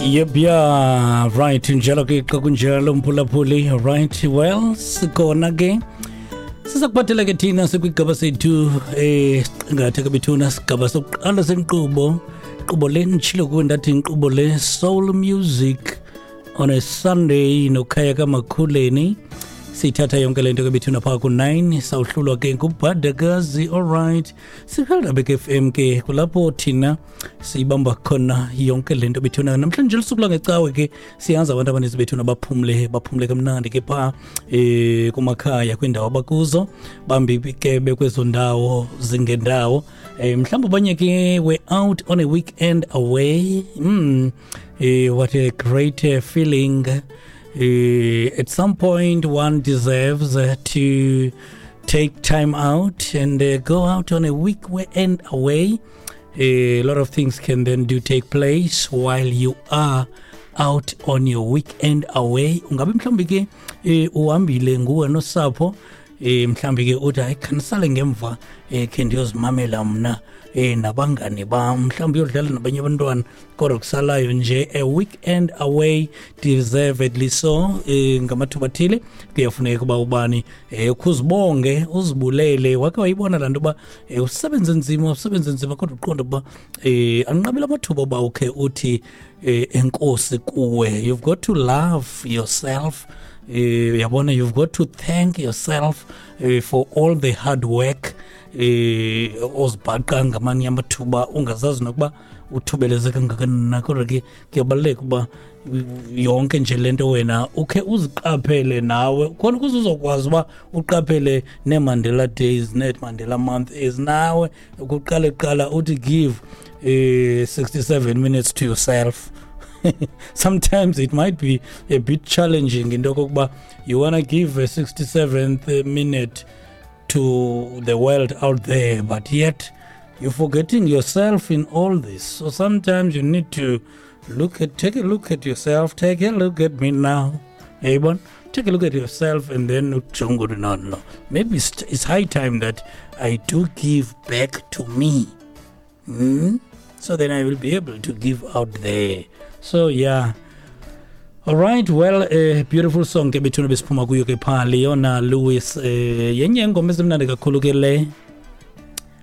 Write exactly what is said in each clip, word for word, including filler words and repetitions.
Yep, yeah, right. Njalo ke xa kunjalo, mphulaphuli. Right, well, sikhona ke. Siza kuphathela ke thina sikwigaba sethu eh siqingatha ke bethuna, sigaba sokuqala senkqubo. Inkqubo le nditshilo kuwe ndathi inkqubo le Soul Music on a Sunday noKhaya kaMakhuleni. Siyithatha yonke le nto ke bethuna phaa ku-nine, sawuhlulwa ke ngubhadakazi. Alright, sihelabek F M ke, kulapho thina siyibamba khona yonke le nto bethuna. Namhlanje lusuku lwangecawe ke, siyazi abantu abaninzi bethuna baphumle, baphumle kamnandi ke phaa eh kumakhaya, kwiindawo abakuzo. Bambi ke bekwezo ndawo zingendawo, eh mhlawumbi abanye ke were out on a weekend away. mm, eh, what a great uh, feeling. uh, at some point one deserves uh, to take time out and uh, go out on a weekend away. A lot of things can then do take place while you are out on your weekend away. Ungabe mhlawumbi ke eh, uhambile nguwe nosapho, eh mhlawumbi ke uthi, "Hayi, khanisale ngemva, eh khe ndiyozimamela mna eh nabangani bam," mhlawumbi uyodlala nabanye abantwana, kodwa kusalayo nje a weekend away, deservedly so. eh ngamathuba athile kuyafuneka uba ubani eh ukuzibonge, uzibulele. Wake wayibona laa nto uba eh, usebenze nzima, usebenze nzima, kodwa uqonda uba eh anqabile amathuba uba ukhe uthi eh, enkosi kuwe. You've got to love yourself. eh yabona, you've got to thank yourself eh, for all the hard work eh ozibhaqa ngamanye amathuba ungazazi nokuba uthubeleze kangakanani na. Kodwa ke kuyabaluleka uba yonke nje lento wena ukhe uziqaphele nawe, khona ukuze uzokwazi uba uqaphele nee-Mandela Days, nee-Mandela Month is nawe kuqale kuqala uthi give eh sixty-seven minutes to yourself. Sometimes it might be a bit challenging into yokokuba you want to give a sixty-seventh minute to the world out there, but yet you're forgetting yourself in all this. So sometimes you need to look at take a look at yourself. Take a look at me now, yayibona? Take a look at yourself and then ujonge ukuthi, no no maybe it's, it's high time that I do give back to me, mm? So then I will be able to give out there. So yeah. All right, well, uh, beautiful song ke bethuna besiphuma kuyo ke phaa, Leona Lewis. eh yenye ingoma ezimnandi kakhulu ke le,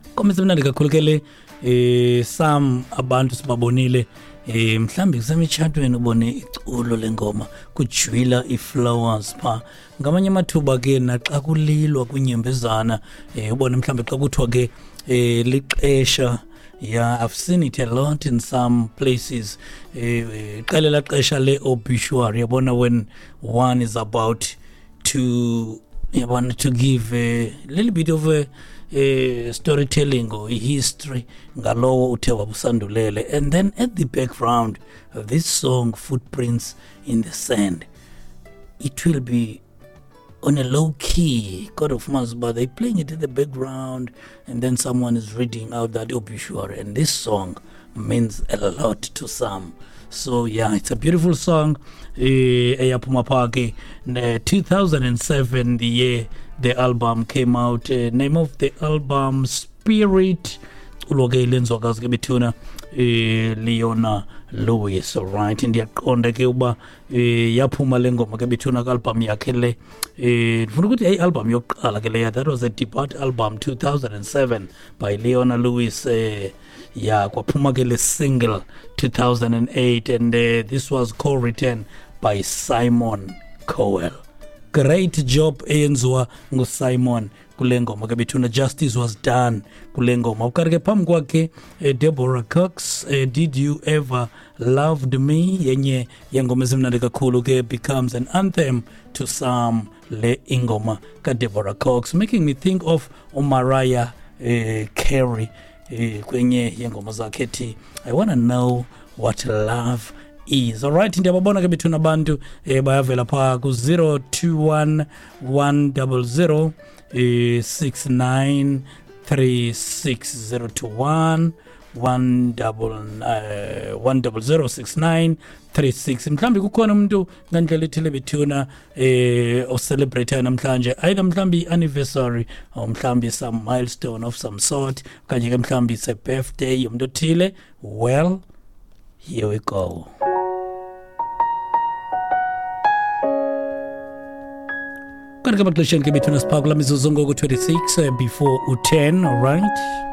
ingoma ezimnandi kakhulu ke le. eh some abantu sibabonile, eh mhlambi kusemitshatweni, ubone iculo lengoma kujwila i-flowers pha. Ngamanye amathuba ke naxa kulilwa, kunyembezana, eh ubone mhlambi xa kuthiwa ke eh lixesha. Yeah, I've seen it a lot in some places. Eh qelela xesha le obituary, yabona, when one is about to, yabona, to give a little bit of a, a storytelling or a history ngalowo uthe wabusandulele, and then at the background of this song, Footprints in the Sand, it will be on a low key, kodwa ufumanisa uba they playing it in the background and then someone is reading out that obituary, and this song means a lot to some. So yeah, it's a beautiful song eh eyaphuma phaa ke two thousand seven, the year the album came out. uh, name of the album, Spirit. Culo ke lenzwakazi ke bethuna, eh Leona Lewis. Alright, ndiyaqonda ke uba eh yaphuma le ngoma ke bethuna ku-album yakhe le. eh ndifuna ukuthi yayi album yokuqala ke leya. That was a debut album, two thousand seven, by Leona Lewis. eh ya kwaphuma ke le single two thousand eight, and uh, this was co-written by Simon Cowell. Great job eyenziwa nguSimon kule ngoma ke bethuna. Justice was done kule ngoma. Ukanti ke phambi kwakhe, eh, Deborah Cox, eh, "Did You Ever Loved Me", yenye yengoma ezimnandi kakhulu ke, becomes an anthem to some le ingoma kaDeborah Cox, making me think of uMariah eh, Carey eh, kwenye yengoma zakhe ethi "I Wanna Know What Love Is". Alright, ndiyababona ke bethuna abantu eh, bayavela phaa ku-zero two one one zero zero eh, six nine three six, zero two one one double uh, one double zero six nine three six. Mhlawumbi kukhona umuntu ngandlela ethile bethuna eh ocelebrate namhlanje, either mhlawumbi anniversary or mhlawumbi some milestone of some sort, okanye ke mhlawumbi it's a birthday yomuntu othile. Well, here we go. Kanti ke emaxesheni ke bethuna siphaa kulaa mizuzu ngoku twenty-six eh, before u-ten. Alright.